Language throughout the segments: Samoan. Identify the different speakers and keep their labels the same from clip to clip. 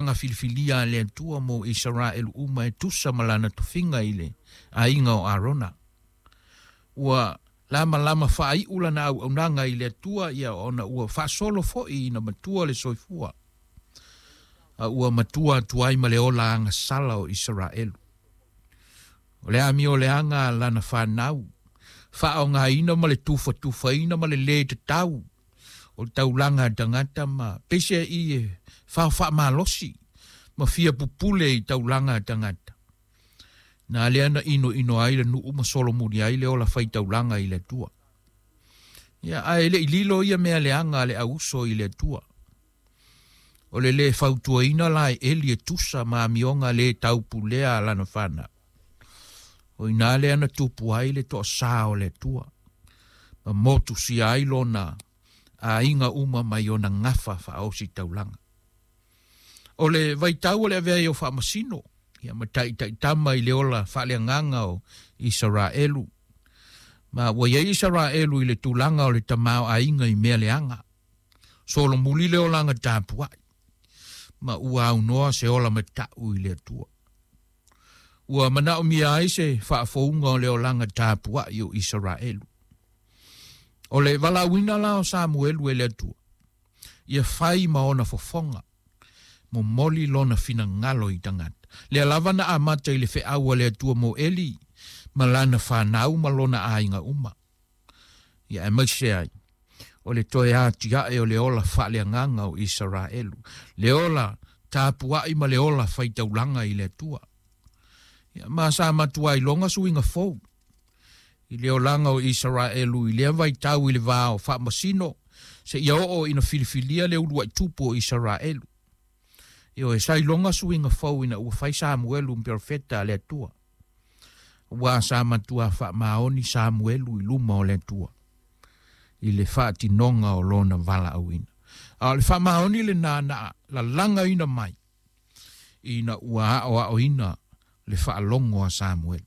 Speaker 1: olaga filifilia a le Atua mo Isaraelu uma e tusa ma lana tofiga i le aiga o Arona. Ua lamalama faaiu lana auaunaga i le Atua ia ona ua faasolo foi ina matua le soifua. A ua matua atu ai ma le ola agasala o Isaraelu. O le amioleaga a lana fanau, faaaogaina ma le tufatufaina ma le lē tatau o le taulaga a tagata ma peiseai e faofaamalosi ma fia pupule i taulaga a tagata. Na lea na inoino ai le nuu ma solomuli ai le ola faitaulaga i le Atua. Ia, ae le'i lilo ia mea leaga a le auuso i le Atua. O le lē fautuaina la e Eli e tusa ma amioga lē taupulea a lana fanau. O i ina lea na tupu ai le toasā o le Atua. Ma motusia ai lona aiga uma mai ona gafa faaosi taulaga. O le vaitau o le avea ai o faamasino, ia ma taʻitaʻitama i le ola faaleagaga o Isaraelu. Ma ua iai Isaraelu i le tulaga o le tamaoaiga i mea leaga. Solomuli le olaga tapuai. Ma ua aunoa se ola mataʻu i le Atua. Ua manaomia ai se faafouga o le olaga tapuai o Isaraelu. O le valaauina la o Samuelu e le Atua. Ia fai ma ona fofoga. Momoli lona finagalo i tagata. Lea lava na amata i le feau a le Atua mo Eli ma lana fanau ma lona aiga uma. Ia aemaise ai. O le toe atiae o le ola faaleagaga o Isaraelu. Le ola tapuai ma le ola faitaulaga i le Atua. Ia ma sa matua iloga suiga fou. I le olaga o Isaraelu i lea vaitau i le va o faamasino seia oo ina filifilia le uluai tupu o Isaraelu. Ioe, sa iloga suiga fou ina ua fai Samuelu ma perofeta a le Atua. Ua sa matua faamaoni Samuelu i luma o le Atua i le faatinoga o lona valaauina. A o le faamaoni lenā na lalagaina mai ina ua aoaoina le faalogo a Samuelu.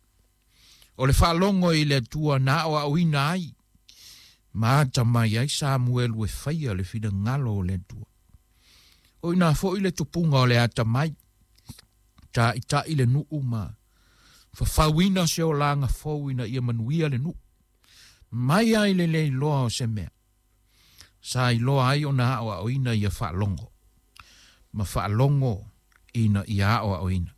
Speaker 1: O le faalogo i le Atua na aoaoina ai ma atamai ai Samuelu e faia le finagalo o le Atua. O ina foi le tupuga o le atamai, taʻitaʻi le nuu ma fafauina se olaga fou ina ia manuia le nuu. Mai ai le le iloa o se mea. Sa iloa ai ona aoaoina ia faalogo. Ma faalogo ina ia aoaoina.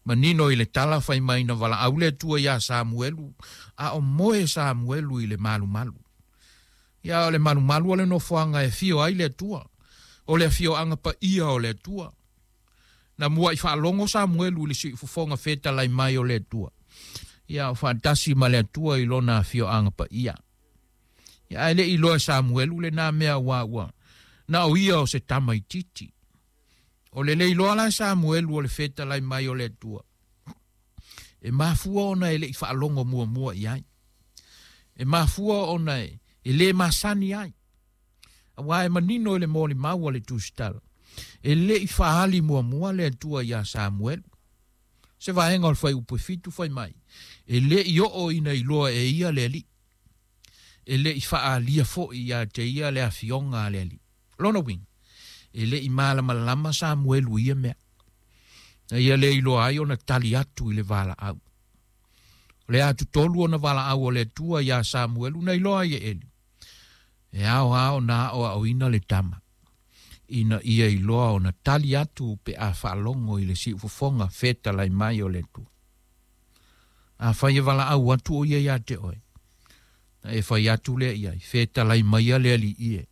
Speaker 1: Manino i le tala fai mai na valaau le Atua iā Samuelu, a o moe Samuelu i le malumalu. Ia o le malumalu o le nofoaga e afio ai le Atua. O le afioaga paia o le Atua. Na muai faalogo Samuelu i le siufofoga fetalai mai o le Atua. Ia o faatasi ma le Atua i lona afioaga paia. Ia ae le'i iloa e Samuelu lenā mea aua ua na o ia o se tamaitiiti. O le le iloa la e Samuelu o le fetalai mai o le Atua. E mafua ona e le'i faalogo muamua i ai. E mafua ona e lē masani ai. Auā e manino i le molimau a le Tusitala. E le'i faaali muamua le Atua iā Samuelu. Se vaega o le fuaiupu e 7 fai mai. E le'i oo ina iloa e ia le Alii. E le'i faaalia foi ia te ia le afioga a le Alii. Lona uiga, e le'i malamalama Samuelu i ia mea. Na ia le iloa ai ona tali atu i le valaau. O le atutolu ona valaau o le Atua iā Samuelu na iloa ai e Eli. E ao lava ona aoaoina le tama ina ia iloa ona tali atu pe a faalogo i le siufofoga fetalai mai o le Atua. Afai e valaau atu o ia iā te oe, na e fai atu lea i ai, fetalai maia le Alii e,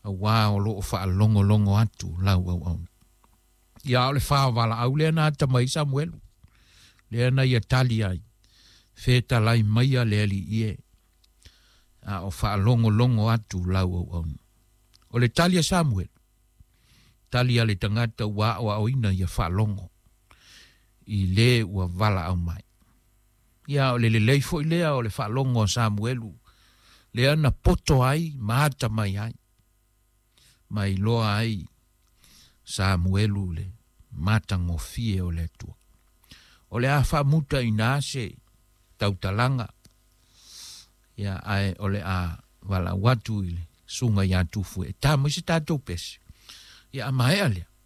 Speaker 1: auā o loo faalogologo atu lau auauna. Ia o le fa o valaau lea na atamai ai Samuelu, lea na ia tali ai, fetalai maia le Alii e, a o faalogologo atu lau auauna. O le tali a Samuelu, tali a le tagata ua aoaoina ia faalogo i le ua valaau mai. Ia o le lelei foi lea o le faalogo a Samuelu, lea na poto ai ma atamai ai, ma iloa ai Samuelu le matagofie o le Atua. O le a faamuta iinā se tautalaga, ia ae o le a valaau atu i le susuga iā Tufue e ta mai se tatou pese. Ia a maea lea.